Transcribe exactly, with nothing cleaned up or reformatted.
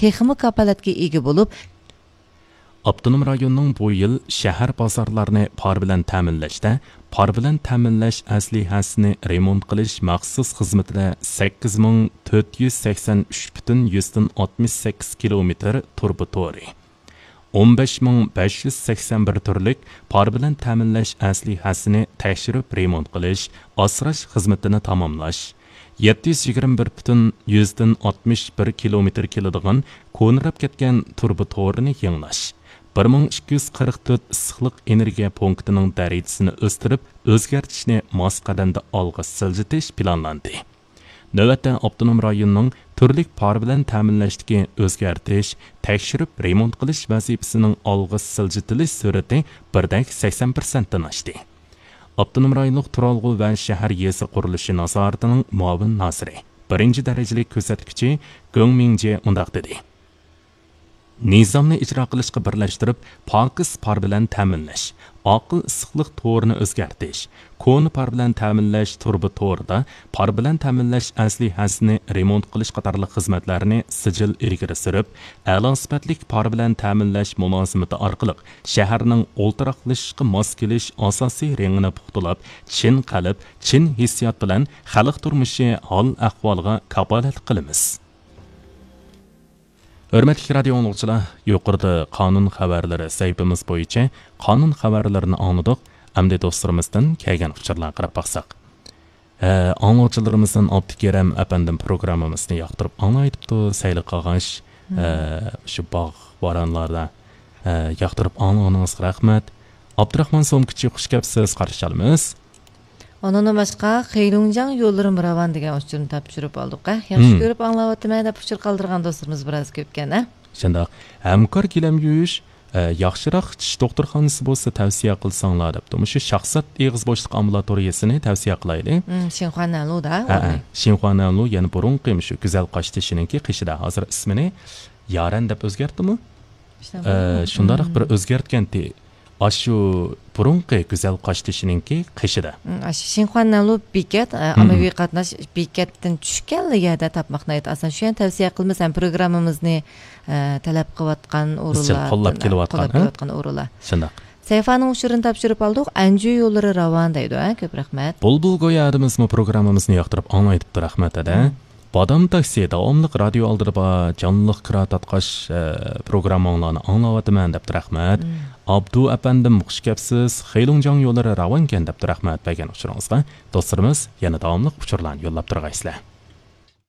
تېخىمۇ كاپالەتكە ئىگە بولۇپ، ئاپتونوم رايوننىڭ بۇ يىل شەھەر بازارلارنى پار بىلەن تەمىنلەشتە پار بىلەن تەمىنلەش ئەسلىھەسىنى رېمونت قىلىش مەخسۇس خىزمىتىدە سەككىز مىڭ تۆت يۈز سەكسەن ئۈچ پۈتۈن يۈزدىن ئاتمىش سەككىز كىلومېتىر تۇرۇبا تورى، ئون بەش مىڭ بەش يۈز سەكسەن بىر تۈرلۈك پار بىلەن تەمىنلەش ئەسلىھەسىنى تەكشۈرۈپ رېمونت قىلىش، ئاسراش خىزمىتىنى تاماملاش، يەتتە يۈز يىگىرمە بىر پۈتۈن يۈزدىن ئاتمىش بىر كىلومېتىر كېلىدىغان كونىراپ كەتكەن تۇرۇبا تورىنى يېڭىلاش، بىر مىڭ ئىككى يۈز قىرىق تۆت ئىسسىقلىق ئېنېرگىيە پونكىتىنىڭ دەرىجىسىنى ئۆستۈرۈپ، ئۆزگەرتىشنى ماس قەدەمدە ئالغا سىلجىتىش پىلانلاندى. نۆۋەتتە ئاپتونوم رايوننىڭ تۈرلۈك پار بىلەن تەمىنلەشتىكى ئۆزگەرتىش، تەكشۈرۈپ رېمونت قىلىش ۋەزىپىسىنىڭ ئالغا سىلجىتىلىش سۈرئىتى بىردەك سەكسەن پىرسەنتتىن ئاشتى. ئاپتونوم رايونلۇق تۇرالغۇ ۋە شەھەر يېزا قۇرۇلۇشى نازارىتىنىڭ مۇئاۋىن نازىرى، بىرىنچى دەرىجىلىك كۆزەتكۈچى گۆڭ مىڭجې مۇنداق دېدى: نىزامنى ئىجرا قىلىشقا بىرلەشتۈرۈپ، پاكىز پار بىلەن تەمىنلەش، ئاقىل ئىسسىقلىق تورىنى ئۆزگەرتىش، كونا پار بىلەن تەمىنلەش تۇرۇبا تورىدا پار بىلەن تەمىنلەش ئەسلىھەسىنى رېمونت قىلىش قاتارلىق خىزمەتلەرنى سىجىل ئىلگىرى سۈرۈپ، ئەلا سۈپەتلىك پار بىلەن تەمىنلەش مۇلازىمىتى ئارقىلىق شەھەرنىڭ ئولتۇراقلىشىشقا ماس كېلىش ئاساسىي رېڭىنى پۇختىلاپ، چىن قەلب، چىن ھېسسىيات بىلەن خەلق تۇرمۇشى ھال-ئەھۋالىغا كاپالەتلىك قىلىمىز. ھۆرمەتلىك رادىيو ئاڭلىغۇچىلار، يۇقىرىدا قانۇن خەۋەرلىرى سەھىپىمىز بويىچە قانۇن خەۋەرلىرىنى ئاڭلىدۇق. ئەمدى دوستلىرىمىزدىن كەلگەن ئۇچۇرلارغا قاراپ باقساق. ھە، ئاڭلىغۇچىلىرىمىزدىن ئابدۇكېرەم ئەپەندىم پروگراممىمىزنى ياقتۇرۇپ ئاڭلايدىپتۇ. سەيلى قاغاش، ھە، شۇ باغ، ۋارانلاردا، ھە، ياقتۇرۇپ ئاڭلىغىنىڭىزغا رەھمەت. ئابدۇراخمان سومكىچى، خۇش كەپسىز، قارشى ئالىمىز. ئۇنىڭدىن باشقا، خېيلۇڭجياڭ يوللىرىمۇ راۋان دېگەن ئۇچۇرنى تاپشۇرۇپ ئالدۇق. ھە، ياخشى كۆرۈپ ئاڭلاۋاتىمەن دەپ ئۇچۇر قالدۇرغان دوستلىرىمىز بىراز كۆپكەن، ھە؟ شۇنداق. ھەمكار گىلەم يۇيۇش، ئە، ياخشىراق چىش دوختۇرخانىسى بولسا تەۋسىيە قىلساڭلار دەپتۇ. مۇشۇ شاخسات ئېغىز بوشلۇق ئامبۇلاتورىيىسىنى تەۋسىيە قىلايلى. ھىم، شىنخۇانەنلۇدا ھە، ھە، ئورنى. شىنخۇانەنلۇ، يەنە بۇرۇنقى مۇشۇ گۈزەل قاشتېشىنىڭكى قېشىدا. ھازىر ئىسمىنى يارەن دەپ ئۆزگەرتتىمۇ؟ ئە، شۇنداقراق بىر ئۆزگەرتكەنتى. ئاشۇ بۇرۇنقى گۈزەل قاشتېشىنىڭكى قېشىدا. ئاشۇ شىنخۇانەنلۇ بېكەت، ئە، ئاممىۋى قاتناش بېكەتتىن چۈشكەنلا يەردە تاپماق ناھايىتى ئاسان. شۇ يەرنى تەۋسىيە قىلىمىز ھەم پروگراممىمىزنى، ئە، تەلەپ قىلىۋاتقان ئورۇنلار، قوللاپ كېلىۋاتقان، قوللاپ كېلىۋاتقان ئورۇنلار. شۇنداق. سەيفانىڭ ئۇچۇرىنى تاپشۇرۇپ ئالدۇق. ئەنجۈ يوللىرى راۋان دەيدۇ، ھە؟ كۆپ رەھمەت. بۇلبۇل گويا ئادىمىزمۇ پروگراممىمىزنى ياقتۇرۇپ ئاڭلايدىپتۇ، رەھمەت ھەدە. بادام تاكسى داۋاملىق رادىيو ئالدىدا بار، جانلىق كىرا تارتقاچ، ئە، پروگرامماڭلارنى ئاڭلاۋاتىمەن دەپتۇ، رەھمەت. ئابدۇ ئەپەندىم، خۇش كەپسىز، خېيلۇڭجياڭ يوللىرى راۋانكەن دەپتۇ، رەھمەت بەرگەن ئۇچۇرىڭىزغا. دوستلىرىمىز يەنە داۋاملىق ئۇچۇرلارنى يوللاپ تۇرغايسىلەر.